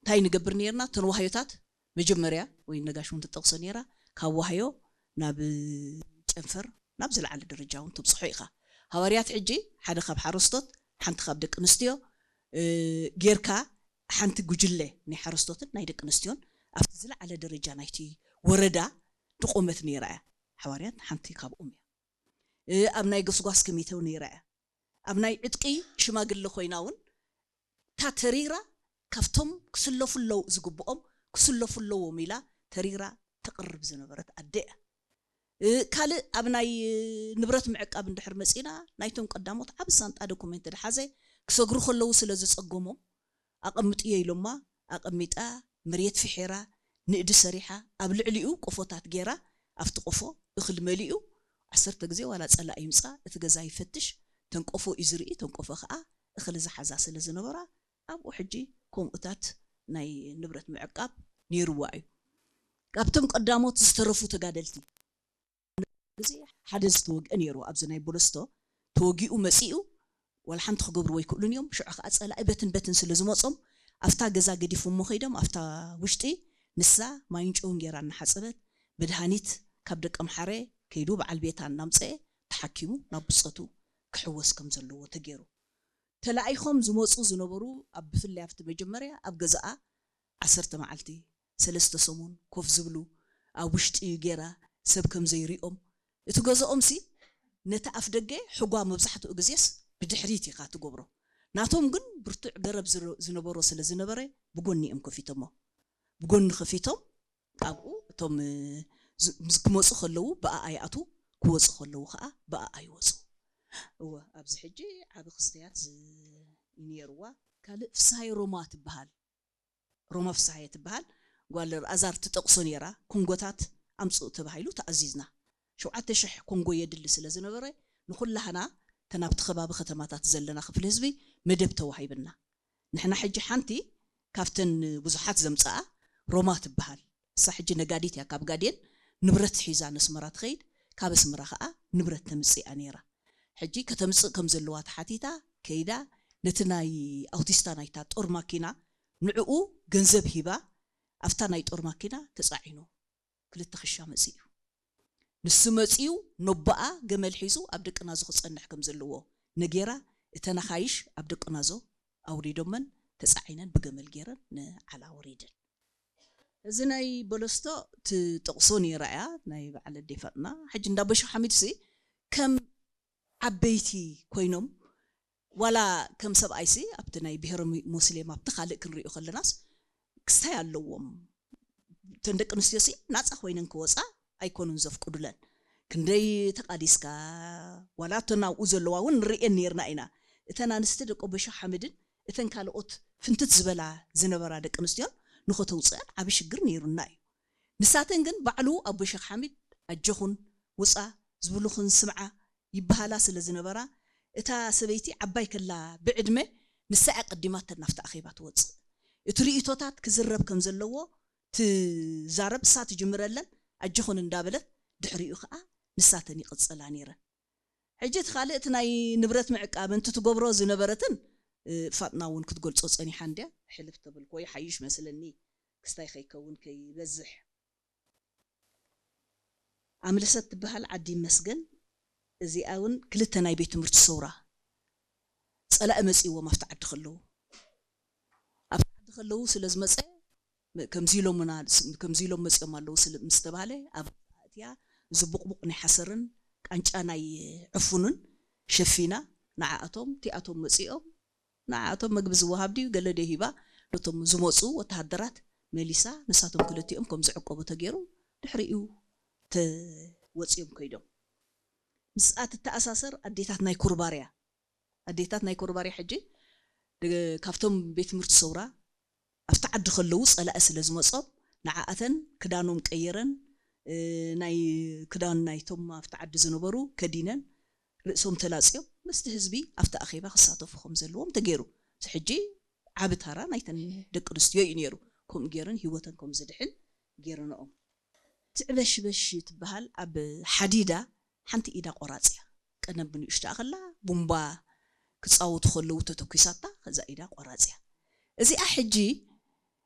እንታይ ንገብር ነርና? እተን ዋህዮታት መጀመርያ ወይ ነጋሽ እውን ትጠቕሶ ነራ፣ ካብ ዋህዮ ናብ ጨንፈር ናብ ዝለዓለ ደረጃ እውን ትብፅሖ ኢኻ። ሃዋርያት ሕጂ ሓደ ካብ ሓረስቶት፣ ሓንቲ ካብ ደቂ ኣንስትዮ ጌርካ፣ ሓንቲ ጉጅለ ናይ ሓረስቶትን ናይ ደቂ ኣንስትዮን ኣብቲ ዝለዓለ ደረጃ ናይቲ ወረዳ ድቆመት ነይራ እያ። ሓዋርያት ሓንቲ ካብኦም እያ። ኣብ ናይ ጎስጓስ ኮሚቴ ነይራ እያ። ኣብ ናይ ዕጥቂ ሽማግለ ኮይና እውን እታ ተሪራ ካብቶም ክስለፉ ኣለዉ ዝግብኦም ክስለፉ ኣለዎም ኢላ ተሪራ ተቕርብ ዝነበረት ኣደ እያ። ካልእ ኣብ ናይ ንብረት ምዕቃብ እንድሕር መፂና ናይቶም ቀዳሞት ዓብ ሳንጣ ዶኩሜንት ድሓዘ ክሰግሩ ከለዉ ስለ ዝፀገሞም ኣቐምጥዮ ኢሎማ ኣቐሚጣ መሬት ፍሒራ ንእዲ ሰሪሓ ኣብ ልዕሊኡ ቆፎታት ገይራ ኣብቲ ቆፎ እኽሊ መሊኡ ዓሰርተ ግዜ ዋላ ፀላእ ይምፃ እቲ ገዛ ይፈትሽ ተንቆፎ እዩ ዝርኢ ተንቆፎ ከዓ እኽሊ ዝሓዛ ስለ ዝነበራ ኣብኡ ሕጂ ከምኡታት ናይ ንብረት ምዕቃብ ነይርዋ እዩ። ካብቶም ቀዳሞት ዝተረፉ ተጋደልቲ ግዜ ሓደ ዝተወግአ ነይሩ ኣብዚ ናይ ቦለስቶ ተወጊኡ መፂኡ ዋላ ሓንቲ ክገብርዎ ኣይክእሉን እዮም። ሽዑ ከዓ ፀላኢ በትን በትን ስለ ዝመፆም ኣብታ ገዛ ገዲፎሞ ከይዶም ኣብታ ውሽጢ ንሳ ማይን ጨውን ገይራ እናሓፀበት መድሃኒት ካብ ደቀምሓረ ከይዱ በዓል ቤታ እናምፀአ ተሓኪሙ ናብ ብፀቱ ክሕወስ ከም ዘለዎ ተገይሩ። ተላኢኾም ዝመፁ ዝነበሩ ኣብ ብፍላይ ኣብቲ መጀመርያ ኣብ ገዛኣ ዓሰርተ መዓልቲ ሰለስተ ሰሙን ኮፍ ዝብሉ ኣብ ውሽጢ ገይራ ሰብ ከም ዘይሪኦም እቲ ገዛኦም ሲ ነቲ ኣፍ ደገ ሕጓ መብዛሕትኡ ግዜስ ብድሕሪት ኢኻ ትገብሮ ናቶም ግን ብርቱዕ ገረብ ዝረ- ዝነበሮ ስለ ዝነበረ ብጎኒ እዮም ከፊቶሞ ብጎኒ ከፊቶም ኣብኡ እቶም እ፣ ዝ- ምስ- ክመፁ ከለዉ ብኣኣ ይኣትዉ ክወፁ ከለዉ ከዓ ብኣኣ ይወፁ እወ ኣብዚ ሕጂ ዓብ ክስተያት ዝ- ነይርዋ ካልእ ፍስሃይ ሮማ ትበሃል ሮማ ፍስሃየ ትበሃል ጓል ኣዛር ትጠቕሶ ነይራ ኮንጎታት ኣምፅኡ ተባሂሉ ተኣዚዝና ሸውዓተ ሽሕ ኮንጎ የድሊ ስለ ዝነበረ ንኩላህና ተናብቲ ከባቢ ከተማታት ዘለና ክፍሊ ህዝቢ መደብ ተዋሂብና ንሕና ሕጂ ሓንቲ ካብተን ብዙሓት ዘምፅኣ ሮማ ትበሃል እሳ ሕጂ ነጋዲት እያ ካብ ጋዴን ንብረት ሒዛ ነስመራ ትኸይድ ካብ ኣስመራ ከዓ ንብረት ተምፅእ እያ ነይራ ሕጂ ከተምፅእ ከም ዘለዋ ተሓቲታ ከይዳ ነቲ ናይ ኣውቲስታ ናይታ ጦር ማኪና ንዕኡ ገንዘብ ሂባ ኣብታ ናይ ጦር ማኪና ተፃዒኑ ክልተ ክሻ መፂኡ ንሱ መፂኡ ነቦኣ ገመል ሒዙ ኣብ ደቂ ናዞ ክፀንሕ ከም ዘለዎ ነጌራ እተን ኣኻይሽ ኣብ ደቂ ናዞ ኣውሪዶመን ተፃዒነን ብገመል ገይረን ንዓላ ወሪደን እዚ ናይ በለስቶ ትጠቕሶ ነይራ እያ ናይ በዓል ኣደይ ፋጥና ሕጂ እንዳ በሾ ሓሚድ ሲ ከም ዓበይቲ ኮይኖም ዋላ ከም ሰብኣይሲ ኣብቲ ናይ ብሄረ ሙ- ሙስሊም ኣብቲ ካልእ ክንሪኦ ከለናስ ክስታይ ኣለዎም እተን ደቂ ኣንስትዮ ሲ ናፃ ኮይነን ክወፃ ኣይኮኑን ዘፍቅዱለን ክንደይ ተቃዲስካ ዋላ እተን ኣብኡ ዘለዋ እውን ንርእየን ነርና ኢና እተን ኣንስቲ ደቂ ኣቦ ሸኽ ሓምድን እተን ካልኦት ፍንትት ዝበላ ዝነበራ ደቂ ኣንስትዮን ንኸተውፅአን ዓብ ሽግር ነይሩና እዩ ንሳተን ግን ባዕሉ ኣቦ ሸኽ ሓሚድ ኣጆኹን ውፃ ዝብሉኽን ስምዓ ይበሃላ ስለ ዝነበራ እታ ሰበይቲ ዓባይ ከላ ብዕድመ ንሳ እያ ቀዲማተን ናብቲ ኣኼባ ትወፅእ እቲ ርእቶታት ክዝረብ ከም ዘለዎ ትዛረብ እሳ ትጅምረለን ኣጆኹን እንዳበለት ድሕሪኡ ከዓ ንሳተን ይቕፅላ ነይረን ሕጂ እቲ ካልእ እቲ ናይ ንብረት ምዕቃብ እንቲ ትገብሮ ዝነበረትን ፋጥና እውን ክትገልፆ ፀኒሓ እንድያ ሕልፍ ተብል ኮይ ሓይሽ መስለኒ ክስታይ ከይከውን ከይበዝሕ ኣምለሰት ትበሃል ዓዲ ይመስገን እዚኣ እውን ክልተ ናይ ቤት ትምህርቲ ሰውራ ፀላኢ መፂእዎም ኣብቲ ዓዲ ከለዉ ኣብቲ ዓዲ ከለዉ ስለ ዝመፀ ከምዚ ኢሎምና ከምዚ ኢሎም መፂኦም ኣለዉ ምስ ተባሃለ ኣብ ኣእትያ እዚ ቡቕቡቕ ናይ ሓሰርን ቃንጫ ናይ ዕፉንን ሸፊና ንዓኣቶም እቲኣቶም መፂኦም ንዓኣቶም መግቢ ዝወሃብ ድዩ ገለ ድዩ ሂባ ነቶም ዝመፁ ወተሃደራት መሊሳ ንሳቶም ክልቲኦም ከም ዝዕቀቡ ተገይሩ ድሕሪኡ ተወፂኦም ከይዶም ምስኣ ትተኣሳሰር ኣዴታት ናይ ኮርባርያ ኣዴታት ናይ ኮርባርያ ሕጂ ካብቶም ቤት ትምህርቲ ሰውራ ኣብቲ ዓዲ ከለዉ ፀላኢ ስለ ዝመፆም ንዓኣተን ክዳኖም ቀይረን ናይ ክዳን ናይቶም ኣብቲ ዓዲ ዝነበሩ ከዲነን ርእሶም ተላፅዮም ምስቲ ህዝቢ ኣብቲ ኣኼባ ክሳተፉ ከም ዘለዎም ተገይሩ። እዚ ሕጂ ዓቢ ታራ ናይተን ደቂ ኣንስትዮ እዩ ነይሩ። ከምኡ ገይረን ህይወተን ከም ዝድሕን ገይረንኦም። ትዕበሽበሽ ትበሃል ኣብ ሓዲዳ ሓንቲ ኢዳ ቆራፅ እያ። ቀደም ብንእሽቶኣ ከላ ቡምባ ክፃወቱ ከለዉ ተተኲሳታ ከዛ ኢዳ ቆራፅ እያ። እዚኣ ሕጂ